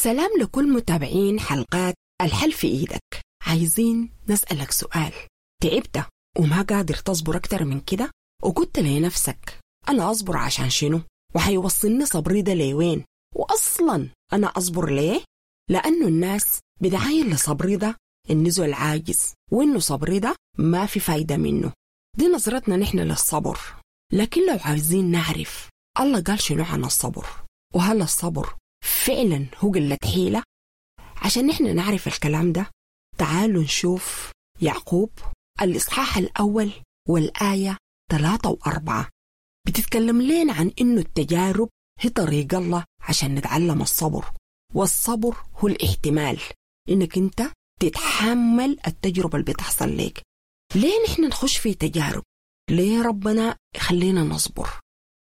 سلام لكل متابعين حلقات الحل في إيدك. عايزين نسألك سؤال: تعبت وما قادر تصبر أكتر من كده؟ وقلت لنفسك أنا أصبر عشان شنو؟ وحيوصلني صبري ده لوين؟ وأصلا أنا أصبر ليه؟ لأنه الناس بتعاين لصبري ده إنه زول عاجز، وإنه صبري ده ما في فايدة منه. دي نظرتنا نحن للصبر. لكن لو عايزين نعرف الله قال شنو عن الصبر، وهل الصبر فعلا هو قلة حيلة؟ عشان نحن نعرف الكلام ده تعالوا نشوف يعقوب الإصحاح الأول والآية 3 و4 بتتكلم لنا عن إنه التجارب هي طريق الله عشان نتعلم الصبر، والصبر هو الاحتمال، إنك أنت تتحمل التجربة اللي بتحصل لك. ليه نحن نخش في تجارب؟ ليه ربنا يخلينا نصبر؟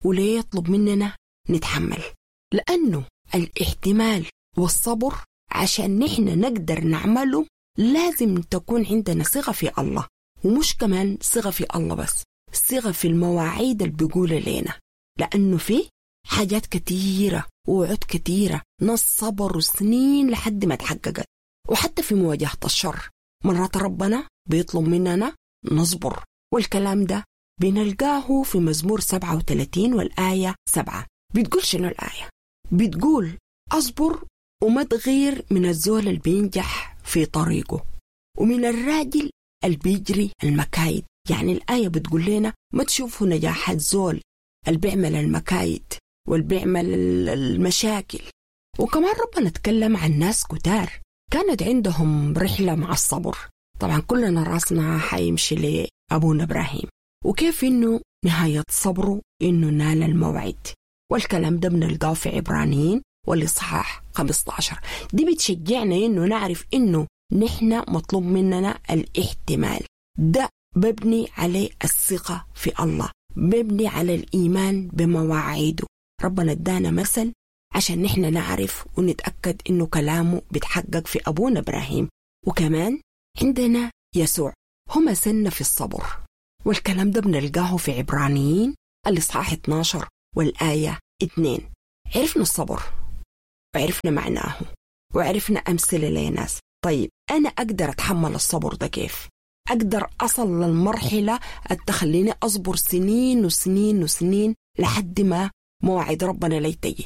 وليه يطلب مننا نتحمل؟ لأنه الاحتمال والصبر عشان نحن نقدر نعمله لازم تكون عندنا ثقة في الله، ومش كمان ثقة في الله بس، ثقة في المواعيد اللي بيقولها لنا. لأنه في حاجات كتيرة ووعود كتيرة ناس صبروا سنين لحد ما تحققت. وحتى في مواجهة الشر مرات ربنا بيطلب مننا نصبر، والكلام ده بنلقاه في مزمور 37 والآية 7. بتقول شنو الآية؟ بتقول أصبر وما تغير من الزول اللي بينجح في طريقه، ومن الراجل اللي بيجري المكايد. يعني الآية بتقول لنا ما تشوفوا نجاح الزول اللي بيعمل المكايد واللي بيعمل المشاكل. وكمان ربنا تكلم عن ناس كتار كانت عندهم رحلة مع الصبر. طبعا كلنا راسنا حيمشي لأبونا إبراهيم، وكيف إنه نهاية صبره إنه نال الموعد. والكلام ده بنلقاه في عبرانيين والإصحاح 15. دي بتشجعنا إنه نعرف إنه نحن مطلوب مننا الاحتمال. ده مبني عليه الثقة في الله، مبني على الإيمان بمواعيده. ربنا ادانا مثل عشان نحن نعرف ونتأكد إنه كلامه بيتحقق في أبونا إبراهيم. وكمان عندنا يسوع هو مثلنا في الصبر، والكلام ده بنلقاه في عبرانيين الإصحاح 12 والآية 2. عرفنا الصبر وعرفنا معناه وعرفنا أمثلة لناس. طيب أنا أقدر أتحمل الصبر ده كيف؟ أقدر أصل للمرحلة التخليني أصبر سنين وسنين وسنين لحد ما موعد ربنا لي تجي.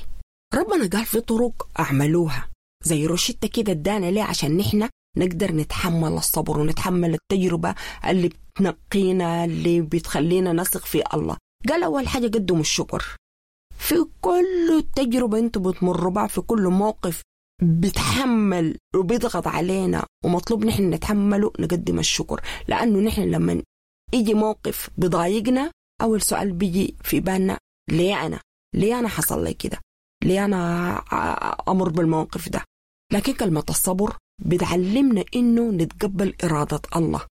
ربنا قال في طرق أعملوها زي روشتة كده ادانا ليه عشان نحن نقدر نتحمل الصبر ونتحمل التجربة اللي بتنقينا، اللي بتخلينا نثق في الله. قال أول حاجة قدموا الشكر في كل تجربة انتوا بتمروا بها، في كل موقف بتحمل وبيضغط علينا ومطلوب نحن نتحمله نقدم الشكر. لأنه نحن لما يجي موقف بضايقنا أول سؤال بيجي في بالنا ليه أنا؟ ليه أنا حصل لي كده؟ ليه أنا أمر بالموقف ده؟ لكن كلمة الصبر بتعلمنا إنه نتقبل إرادة الله،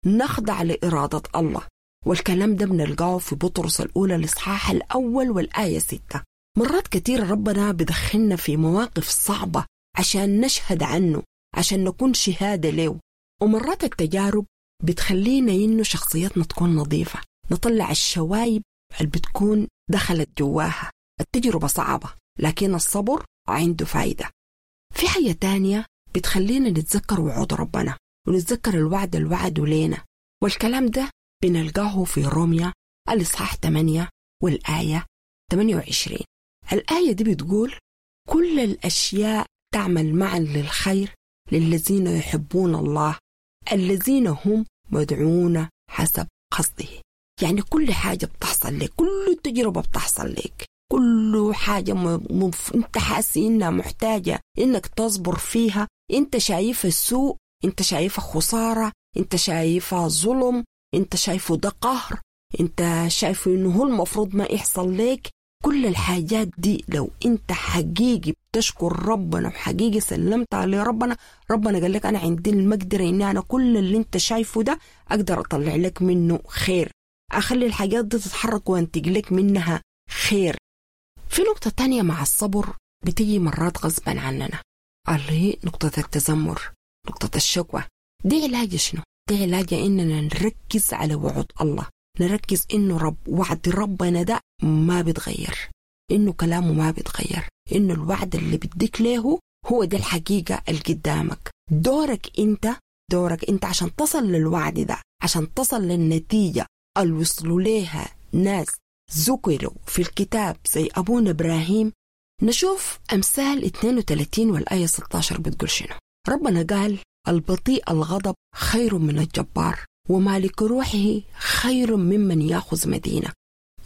نخضع لإرادة الله. والكلام ده بنلقاه في بطرس الأولى الإصحاح الأول والآية 6. مرات كتير ربنا بدخلنا في مواقف صعبة عشان نشهد عنه، عشان نكون شهادة له. ومرات التجارب بتخلينا إنه شخصيتنا تكون نظيفة، نطلع الشوايب اللي بتكون دخلت جواها. التجربة صعبة لكن الصبر عنده فايدة. في حاجة تانية بتخلينا نتذكر وعود ربنا ونتذكر الوعد اللي وعده لينا، والكلام ده بنلقاه في روميا الإصحاح 8 والآية 28. الآية دي بتقول كل الأشياء تعمل معا للخير للذين يحبون الله الذين هم مدعون حسب قصده. يعني كل حاجة بتحصل لك، كل تجربة بتحصل لك، كل حاجة انت حاسس انها محتاجة انك تصبر فيها، انت شايفها سوء، انت شايفها خسارة، انت شايفها ظلم، انت شايفه ده قهر، انت شايفه انه هو المفروض ما يحصل لك. كل الحاجات دي لو انت حقيقي بتشكر ربنا وحقيقي سلمت عليه ربنا، ربنا قال لك انا عندي المقدرة اني انا كل اللي انت شايفه ده اقدر اطلع لك منه خير، اخلي الحاجات دي تتحرك وانتج لك منها خير. في نقطة تانية مع الصبر بتيجي مرات غصبا عننا، اللي هي نقطة التذمر، نقطة الشكوى. دي علاج شنو؟ دي علاج إننا نركز على وعود الله، نركز إنه وعد ربنا ده ما بيتغير، إنه كلامه ما بيتغير، إنه الوعد اللي بديك له هو ده الحقيقة اللي قدامك. دورك انت عشان تصل للوعد ده، عشان تصل للنتيجة اللي وصلوا ليها ناس ذكروا في الكتاب زي أبونا إبراهيم. نشوف أمثال 32 والآية 16 بتقول شنو. ربنا قال البطيء الغضب خير من الجبار، ومالك روحه خير ممن يأخذ مدينة.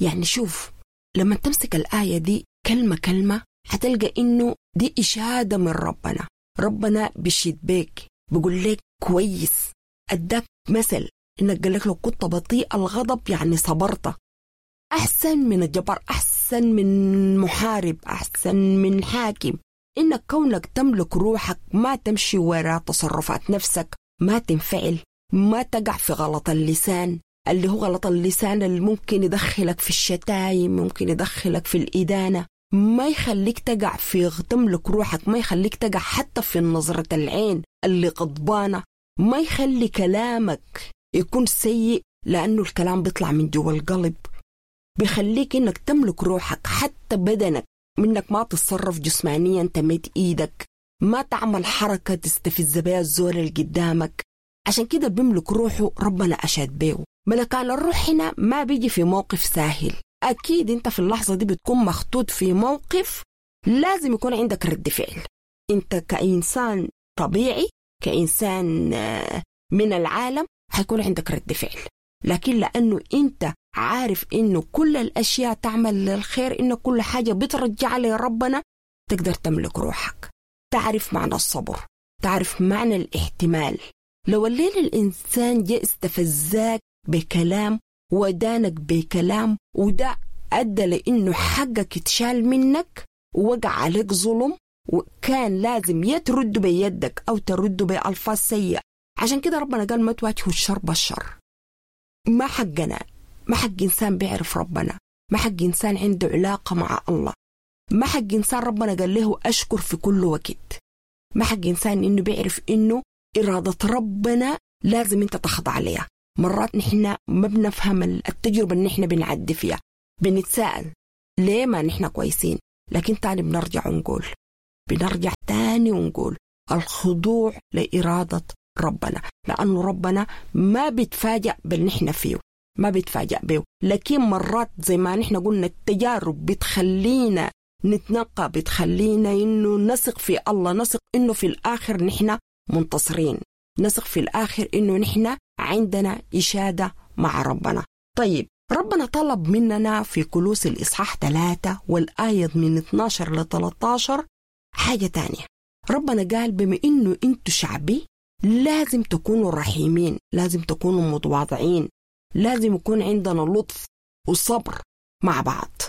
يعني شوف لما تمسك الآية دي كلمة كلمة هتلقى إنه دي إشادة من ربنا. ربنا بيشيد بيك، بيقول لك كويس، أداك مثل إنك قال لك لو كنت بطيء الغضب يعني صبرت، أحسن من الجبار، أحسن من محارب، أحسن من حاكم. إنك كونك تملك روحك، ما تمشي وراء تصرفات نفسك، ما تنفعل، ما تقع في غلط اللسان، اللي هو غلط اللسان اللي ممكن يدخلك في الشتايم، ممكن يدخلك في الإدانة، ما يخليك تقع في تملك روحك، ما يخليك تقع حتى في نظرة العين اللي غضبانة، ما يخلي كلامك يكون سيء لأنه الكلام بيطلع من جوا القلب. بيخليك إنك تملك روحك، حتى بدنك، منك ما تتصرف جسمانيا، تمد إيدك، ما تعمل حركة تستفز بها الزول اللي قدامك. عشان كده بيملك روحه ربنا أشاد بيه. ملكان الروح هنا ما بيجي في موقف ساهل، أكيد أنت في اللحظة دي بتكون مخطوط في موقف لازم يكون عندك رد فعل. أنت كإنسان طبيعي، كإنسان من العالم، حيكون عندك رد فعل، لكن لأنه أنت عارف إنه كل الأشياء تعمل للخير، إنه كل حاجة بترجع لربنا، تقدر تملك روحك، تعرف معنى الصبر، تعرف معنى الاحتمال. لو الليل الإنسان جاء استفزاك بكلام ودانك بكلام، وده أدى لإنه حقك اتشال منك ووقع عليك ظلم، وكان لازم يترد بيدك أو ترد بألفاظ سيئة. عشان كده ربنا قال ما تواجهوا الشر بالشر. ما حقنا، ما حق إنسان بيعرف ربنا، ما حق إنسان عنده علاقة مع الله، ما حق إنسان ربنا قال له أشكر في كل وقت، ما حق إنسان إنه بيعرف إنه إرادة ربنا لازم أنت تخضع عليها. مرات نحن ما بنفهم التجربة اللي نحن بنعدي فيها، بنتساءل ليه ما نحن كويسين، لكن تاني بنرجع ونقول، بنرجع تاني ونقول الخضوع لإرادة ربنا، لأنه ربنا ما بيتفاجأ باللي نحن فيه، ما بيتفاجأ به. لكن مرات زي ما نحن قلنا التجارب بتخلينا نتنقى، بتخلينا إنه نثق في الله، نثق إنه في الآخر نحن منتصرين، نثق في الآخر إنه نحن عندنا إشادة مع ربنا. طيب ربنا طلب مننا في كلوس الإصحاح 3 والآية من 12 ل 13 حاجة تانية. ربنا قال بما إنه أنتوا شعبي لازم تكونوا رحيمين، لازم تكونوا متواضعين، لازم يكون عندنا لطف وصبر مع بعض.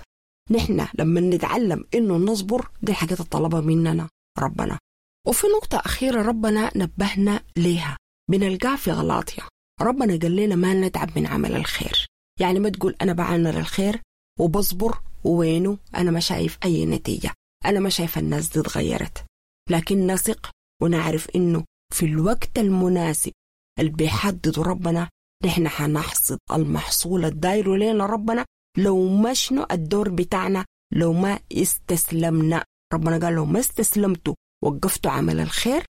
نحن لما نتعلم إنه نصبر، دي الحاجات الطلبة مننا ربنا. وفي نقطة أخيرة ربنا نبهنا ليها بنلقاها في غلاطيا. ربنا قال لنا ما نتعب من عمل الخير. يعني ما تقول أنا بعمل الخير وبصبر ووينه أنا ما شايف أي نتيجة، أنا ما شايف الناس دي اتغيرت. لكن نثق ونعرف إنه في الوقت المناسب اللي بيحدده ربنا نحن حنحصد المحصول الداير لنا ربنا. لو ما شنو الدور بتاعنا، لو ما استسلمنا، ربنا قال لو ما استسلمتوا وقفتوا عمل الخير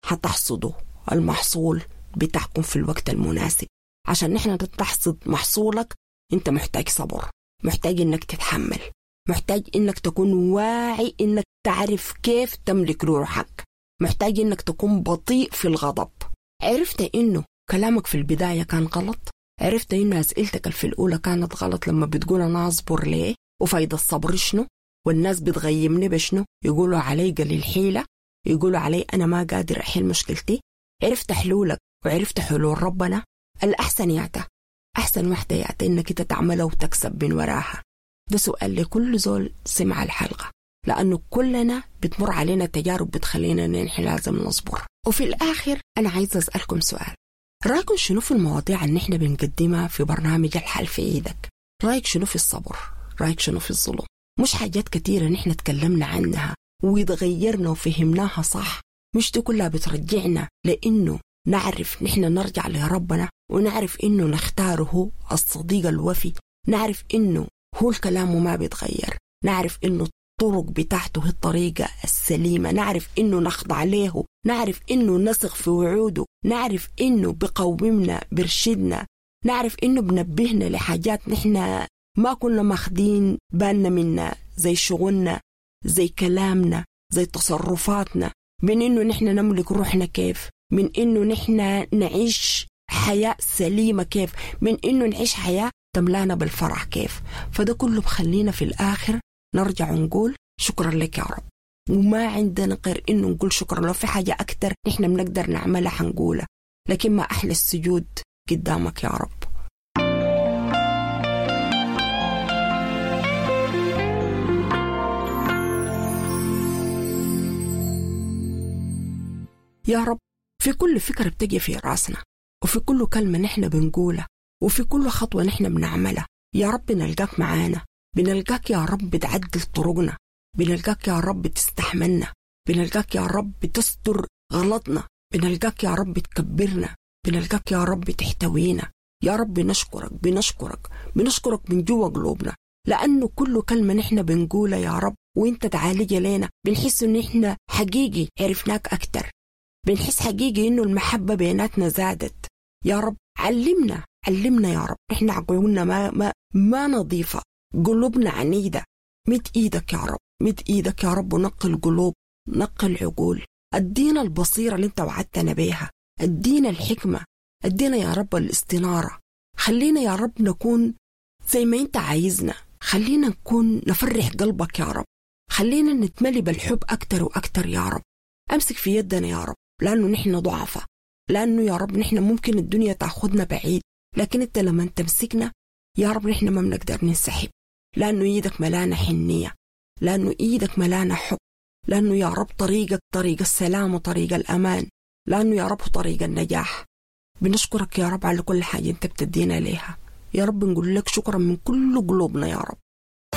حتحصدوا المحصول بتاعكم في الوقت المناسب. عشان نحن تحصد محصولك انت محتاج صبر، محتاج انك تتحمل، محتاج انك تكون واعي، انك تعرف كيف تملك روحك، محتاج انك تكون بطيء في الغضب. عرفت انه كلامك في البداية كان غلط، عرفت انه اسئلتك في الاولى كانت غلط لما بتقول انا اصبر ليه وفايدة الصبر شنو والناس بتغيمني بشنو، يقولوا علي قليل حيلة، يقولوا علي انا ما قادر احل مشكلتي. عرفت حلولك وعرفت حلول ربنا. الأحسن يعتا، أحسن واحدة يعتا إنك أنت تعملها وتكسب من وراها. ده سؤال لكل زول سمع الحلقة، لأنه كلنا بتمر علينا تجارب بتخلينا نحن لازم نصبر. وفي الآخر أنا عايزة أسألكم سؤال، رأيكم شنو في المواضيع اللي نحن بنقدمها في برنامج الحل في إيدك؟ رأيك شنو في الصبر؟ رأيك شنو في الظلم؟ مش حاجات كتيرة نحن تكلمنا عنها وتغيرنا وفهمناها صح، مش دي كلها بترجعنا لأنه نعرف نحن نرجع لربنا ونعرف إنه نختاره الصديق الوفي، نعرف إنه هو الكلام وما بيتغير، نعرف إنه الطرق بتاعته هي الطريقة السليمة، نعرف إنه نخضع له، نعرف إنه نثق في وعوده، نعرف إنه بقومنا برشدنا، نعرف إنه بنبهنا لحاجات نحن ما كنا ماخدين بالنا منها، زي شغلنا، زي كلامنا، زي تصرفاتنا، من إنه نحن نملك روحنا كيف، من إنه نحن نعيش حياة سليمة كيف، من إنه نعيش حياة تملانا بالفرح كيف. فده كله بخلينا في الآخر نرجع ونقول شكرا لك يا رب، وما عندنا غير إنه نقول شكرا. لو في حاجة أكتر نحن بنقدر نعملها حنقولها، لكن ما أحلى السجود قدامك يا رب. يا رب في كل فكرة بتجي في راسنا، وفي كل كلمة نحن بنقولها، وفي كل خطوة نحن بنعملها، يا رب بنلقاك معانا، بنلقاك يا رب بتعدل طرقنا، بنلقاك يا رب بتستحملنا، بنلقاك يا رب بتستر غلطنا، بنلقاك يا رب بتكبرنا، بنلقاك يا رب تحتوينا. يا رب نشكرك، بنشكرك، بنشكرك من جوا قلوبنا، لأنه كل كلمة نحن بنقولها يا رب وانت تعالج لنا بنحس إن إحنا حقيقي عرفناك أكتر، بنحس حقيقي إنه المحبة بيناتنا زادت. يا رب علمنا، علمنا يا رب، إحنا عقولنا ما ما نظيفة، قلوبنا عنيدة. مد إيدك يا رب، مد إيدك يا رب ونقل قلوب، نقل عقول، أدينا البصيرة اللي انت وعدتنا بيها، أدينا الحكمة، أدينا يا رب الاستنارة. خلينا يا رب نكون زي ما انت عايزنا، خلينا نكون نفرح قلبك يا رب، خلينا نتملي بالحب أكتر وأكتر يا رب. أمسك في يدنا يا رب، لأنه نحن ضعفاء، لأنه يا رب نحن ممكن الدنيا تأخذنا بعيد، لكن انت لما تمسكنا يا رب نحن ما بنقدر ننسحب، لأنه إيدك ملانة حنية، لأنه إيدك ملانة حب، لأنه يا رب طريقك طريق السلام وطريق الأمان، لأنه يا رب طريق النجاح. بنشكرك يا رب على كل حاجة انت بتدينا ليها يا رب، نقول لك شكرا من كل قلوبنا يا رب.